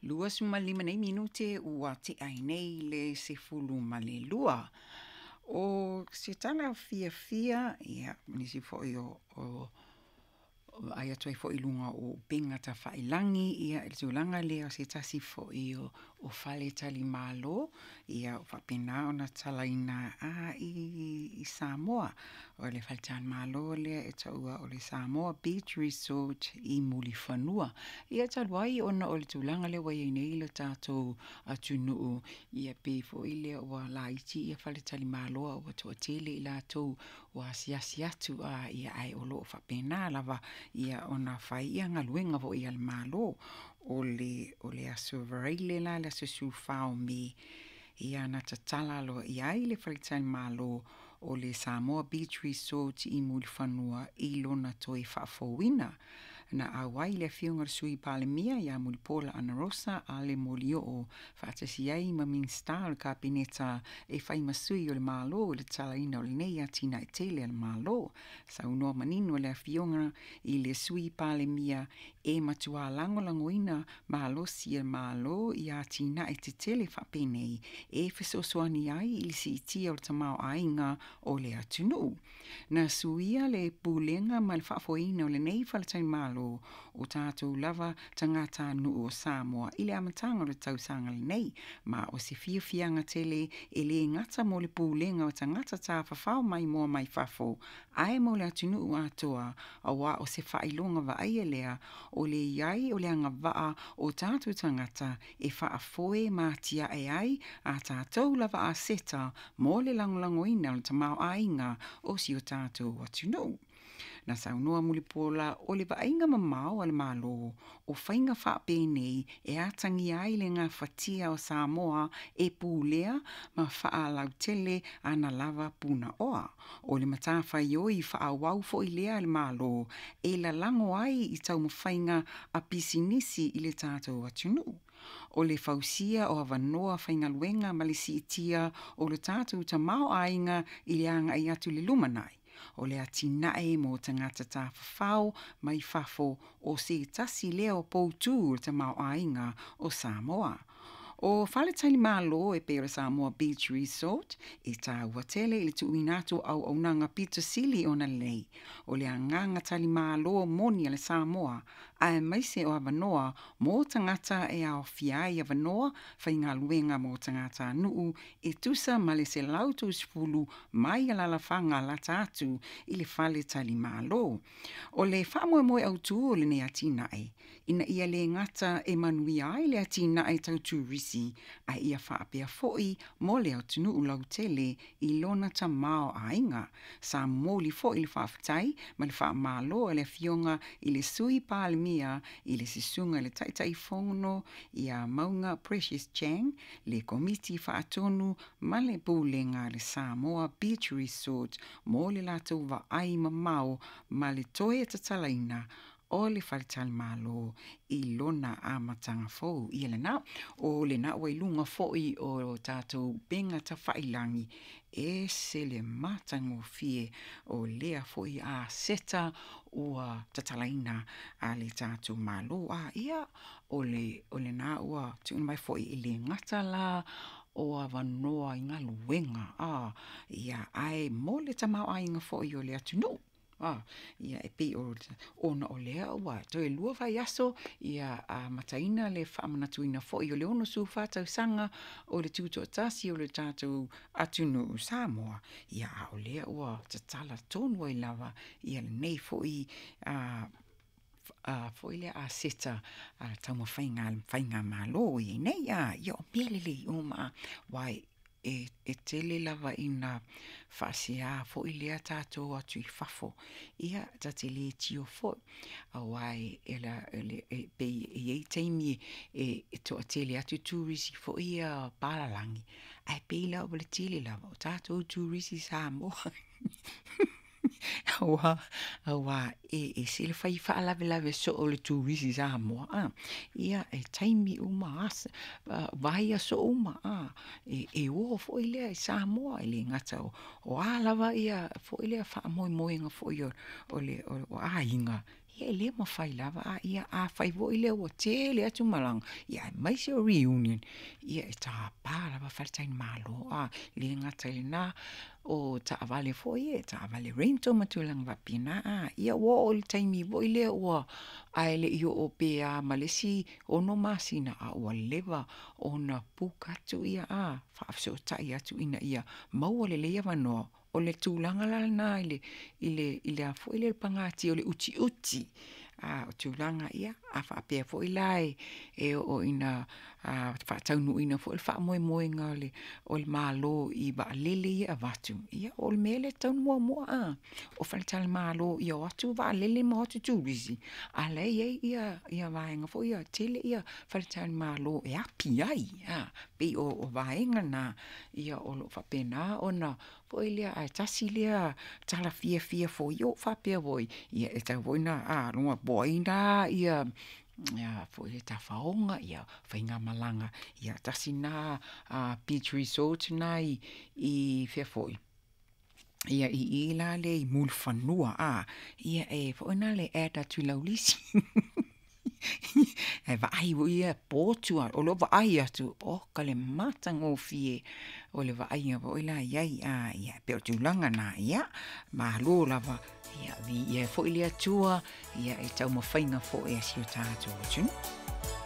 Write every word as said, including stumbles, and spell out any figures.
Luasefulumalima nei minute ua tea ai nei le sefulu ma le lua. O se tala fiafia, ia, ma nisi foi o o vaai atu ai foi i luga o upega tafailagi, ia, i le tulaga lea o se tasi foi o o faletalimalo, ia, ua faapena ona tatalaina i i Samoa. O le faletalimalo lea e taua o le Samoa Beach Resort i Mulifanua. Ia talu ai ona o le tulaga lea ua i ai nei le tatou atunuu, ia pei foi lea ua laiti ia faletalimalo a ua toatele i latou ua asiasi atu, a ia ae o lo o faapena lava ia ona fai ia galuega foi a le Malo. O le o le Aso Faraile la le aso sefulufa o Me, ia na tatala aloaia ai le faletalimalo o le Samoa Beach Resort i Mulifanua i lona toe faafouina. Na auai le afioga i le Sui Palemia ia Mulipola Anarosa Ale Molioo faatasi ai ma Minisita o le Kapeneta e fai ma sui o le Malo i le tatalaina o lenei atinae tele a le Malo. Saunoa manino le afioga i le Sui Palemia e matua lagolagoina malosi e le Malo i atinae tetele faapenei e fesoasoani ai i le siitia o le tamaoaiga o le atunuu. Na suia le pulega ma le faafoeina o lenei faletalimalo o tatou lava tagatanuu o Samoa i le amataga o le tausaga lenei, ma o se fiafiaga tele e le gata mo le pulega o tagata tafafao maimoa mai fafo, ae mo le atunuu atoa, auā o se faailoga vaaia lea o le i ai o le agavaa o tatou tagata e faafoe ma atiae ai a tatou lava aseta mo le lagolagoina o le tamaoaiga o si o tatou atunuu. Na saunoa Mulipola o le vaaiga mamao a le Malo o faiga faapenei e atagia ai le gafatia o Samoa e pulea ma faalautele ana lava punaoa. O le matafaioi faaauau foi lea a le Malo e lalago ai i taumafaiga a pisinisi i le tatou atunuu. O le fausia o avanoa faigaluega ma le siitia o le tatou tamaoaiga i le agai atu i le lumanai. O le atinae mo tagata tafafao mai fafo o se tasi lea o poutu o le tamaoaiga o Samoa. O faletalimalo e pei o le Samoa Beach Resort e taua tele i le tuuina atu o auaunaga pito sili ona lelei. O le agaga talimalo moni a le Samoa, aemaise o avanoa mo tagata e aofia ai avanoa faigaluega mo tagatanuu e tusa ma le selau tolusefulu mai alaalafaga lata atu i le faletalimalo. O le faamoemoe autū o lenei atinae, ina ia le gata e manuia ai le atinae tau turisi, ae ia faapea foi mo le atunuu lautele i lona tamaoaiga. Sa momoli foi le faafetai ma le faamalo a le afioga i le Sui Palemia i le susuga i le Taitaifono ia Mauga Precious Chang, le Komiti Faatonu ma le Pulega a le Samoa Beach Resort mo le latou vaai mamao ma le toe tatalaina o le faletalimalo i lona amataga fou. Ia lena, o lena ua i luga foi o tatou upega tafailagi, e ese le matagofie o lea foi aseta ua tatalaina a le tatou Malo. A ia, o le o lena ua tuuina mai foi e le gata la o avanoa i galuega, a ia, ae mo le tamaoaiga foi o le atunuu. A ia, e pei o ona o lea ua toe lua vaiaso ia amataina le faamanatuina foi o le onosefulufa tausaga o le tutoatasi o le tatou atunuu Samoa, ia a o lea ua tatala tonu ai lava ia lenei foi a a foi lea aseta a le taumafaiga a le faigamalo i ai nei. A ia, o mea lelei uma, aua e e tele lava ina faasea foi lea tatou atu i fafo, ia ta te le tio foi, auā e la e pei e i ai taimi e e toatele atu turisi foi ia palalagi, ae pei la ua le tele lava o tatou turisi Samoa. Auā, auā e ese le fai faalavelave soo o le turisi Samoa, a ia, e taimi uma asa vaiaso uma, a e e o foi lea i Samoa, e le gata o o a lava ia foi lea faamoemoega foi o o le o aiga, Ia e le mafai lava a ia afai foi lea ua tele atu malaga, ia aemaise o reunion, ia e tapa lava faletalimalo a. E le gata i lena, o taavale foi ia, taavale rental ma tulaga faapena a. Ia ua oo i le taimi foi lea ua, ae le i oo pe a ma le isi ono masina, a ua leva ona book atu ia a, faafesootai atu ina ia maua lelei avanoa. O le tulaga la lena i le i le i le a foi lea pagatia o le utiuti, a o tulaga ia, a faapea foi la e e oo ina faataunuuina foi le faamoemoega o le o le Malo i vaalele ia e avatu, ia o le mea lea e tatau ona muamua a, o faletalimalo ia o atu vaalele ma o atu turisi, a o la e i ai ia ia vaega foi ia, tele ia faletalimalo e api ai, a, pei o vaega na ia o lo o faapena ona foi lea, ae tasi lea tala fiafia foi ia ua ou faapea foi, ia e tatau foi ona a po o ai na ia foi tafaoga, ia faigamalaga, ia tasi na beach resort na i i fea foi, ia i i la lea i Mulifanua, a, ia e foi na le add atu i lau lisi. Ae vaai foi ia potu a, o lou vaai atu, oka le matagofie o le vaaiga foi la i ai, a, ia pei o tulaga na, ia, malo lava, ia viia ai foi le Atua, ia i taumafaiga foi a si o tatou atunuu.